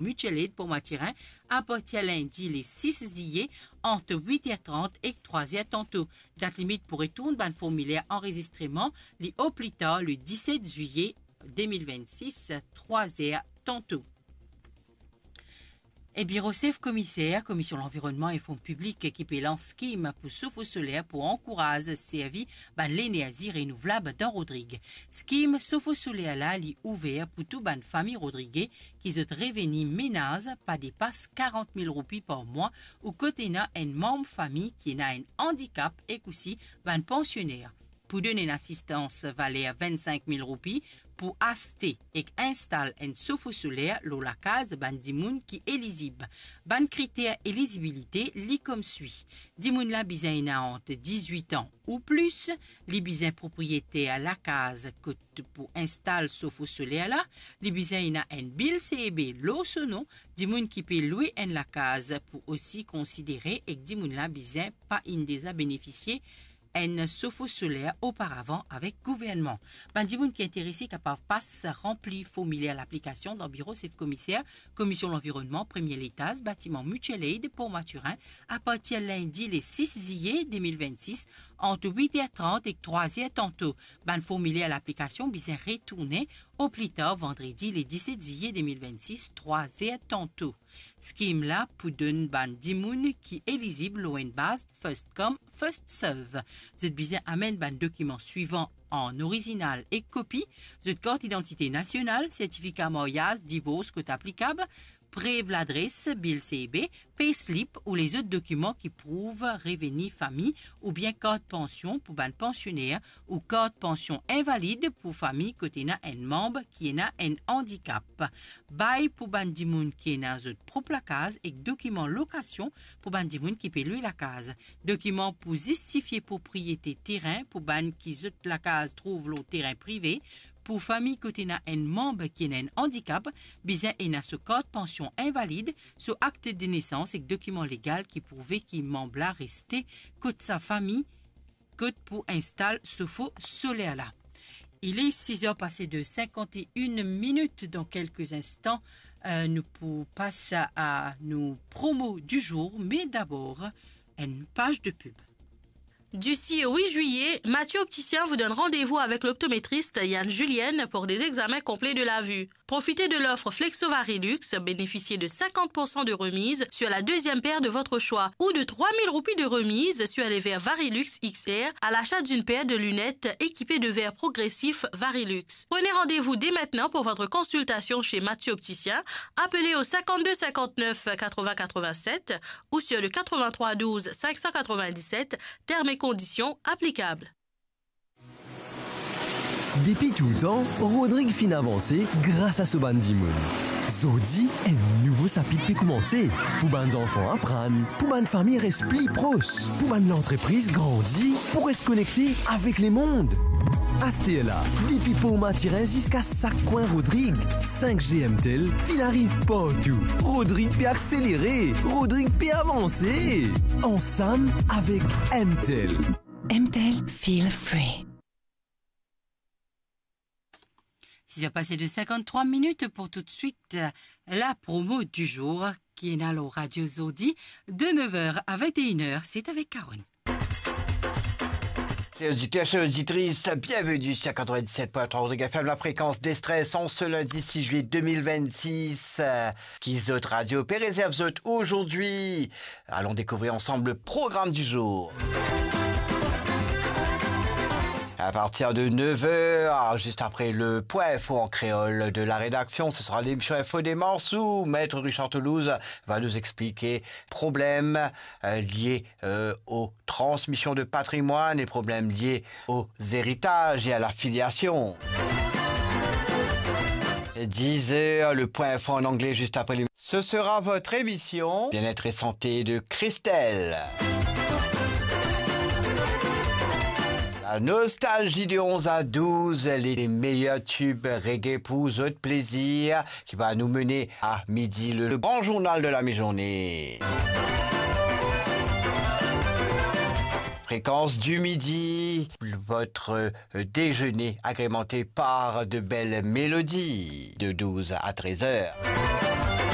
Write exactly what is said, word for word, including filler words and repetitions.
Mutual Aid Port Mathurin, apartir lindi le sis ziye, ant wit er trant ek trwa er tanto. Dat limit pou retourn bann formiler anrezistreman, li o pli tar le diset ziye de mil vennsis, trwa er tanto. E biro sef komiser Komisyon Lanvironnman e Fon Piblik ki pe lans skim pou sofo soler pou ankouraz servi bann lenerzi renouvlab dan Rodrig. Skim sofo soler la, li ouver pou tou bann fami Rodrig ki zot reveni menaz pa depas karant mil roupi par mwa, ou kot ena enn manm fami ki ena enn andikap ek osi bann pansioner. Pou donn enn asistans valer vennsenk mil roupi pou aste ek instal enn sofo soler lor lakaz bann dimoun ki elizib. Bann kriter elizibilite, li koumsa. Dimoun la bizin ena ant dizwit an ou plis, li bizin propriyeter lakaz kot pou instal sofo soler la, li bizin ena enn bil C E B lor so non, dimoun ki pe lwe enn lakaz pou osi konsidere, ek dimoun la bizin pa inn deza benefisie enn sofo soler oparavan avek gouvernman. Bann dimoun ki interese kapav pas ranpli formiler laplikasion dan biro sef komiser Komisyon Lanvironnman, premie letaz, batiman Mutual Aid, Port Mathurin, apartir lindi le sis ziye de mil vennsis, ant wit er trant ek trwa er tanto. Bann formiler laplikasion bizin retourne o pli tar vandredi le diset ziye de mil vennsis, trwa er tanto. Skim la pou donn bann dimoun ki elizib lor enn baz first come, first serve. Zot bizin amenn bann dokiman swivan an orizinal ek kopi: zot kart idantite nasional, sertifika maryaz, divors kot aplikab, prev ladres, bil C E B, payslip ou lezot dokiman ki prouv reveni fami, oubien kart pansion pou bann pansioner ou kart pansion invalid pou fami kot ena enn manm ki ena enn andikap. Bay pou bann dimoun ki ena zot prop lakaz ek dokiman lokasion pou bann dimoun ki pe lwe lakaz. Dokiman pou zistifie propriete terin pou bann ki zot lakaz trouv lor terin prive. Pou fami kot ena enn manm ki ena enn andikap, bizin ena so kart pansion invalid, so akt de nesans ek dokiman legal ki prouve ki manm la reste kot sa fami, kot pou instal sofo soler la. Il est six heures passées de cinquante et une minutes. Dans quelques instants, euh, nous pour passer à nos promos du jour, mais d'abord, une page de pub. Du six au huit juillet, Mathieu Opticien vous donne rendez-vous avec l'optométriste Yann Julienne pour des examens complets de la vue. Profitez de l'offre Flexo Varilux, bénéficiez de cinquante pour cent de remise sur la deuxième paire de votre choix ou de trois mille roupies de remise sur les verres Varilux X R à l'achat d'une paire de lunettes équipées de verres progressifs Varilux. Prenez rendez-vous dès maintenant pour votre consultation chez Mathieu Opticien. Appelez au cinquante-deux cinquante-neuf quatre-vingts quatre-vingt-sept ou sur le quatre-vingt-trois douze cinq cent quatre-vingt-dix-sept, termes et conditions applicables. Depi toultan, Rodrig finn avanse gras a so bann dimoun. Zordi, enn nouvo sapit pe koumanse. Pou bann zanfan aprann, pou bann fami res pli pros, pou bann lantrepriz grandi, pou res konekte avek lemond. Asterla, depi Port Mathurin ziska sak kwin Rodrig, cinq G M Tel finn ariv partou. Rodrig pe akselere, Rodrig pe avanse. Ansam avek M Tel. M Tel, feel free. Six heures passées de cinquante-trois minutes pour tout de suite, euh, la promo du jour qui est là au radio zordi de neuf heures à vingt et une heures. C'est avec Karen. Chers auditeurs, chères auditrices, bienvenue sur quatre-vingt-dix-sept point trois Rodrig F M, la fréquence des stress, en ce lundi six juillet deux mille vingt-six. Euh, ki zot radio pe rezerv zot aujourd'hui. Allons découvrir ensemble le programme du jour. À partir de neuf heures, juste après le point info en créole de la rédaction, ce sera l'émission Info des Mars où Maître Richard Toulouse va nous expliquer problèmes, euh, liés, euh, aux transmissions de patrimoine et problèmes liés aux héritages et à la filiation. Dix heures, le point info en anglais juste après les Ce sera votre émission Bien-être et santé de Christelle. La nostalgie de onze à douze, les meilleurs tubes reggae pour votre plaisir, qui va nous mener à midi, le, le grand journal de la mi-journée. Fréquence du midi, votre, euh, déjeuner agrémenté par de belles mélodies de douze à treize heures.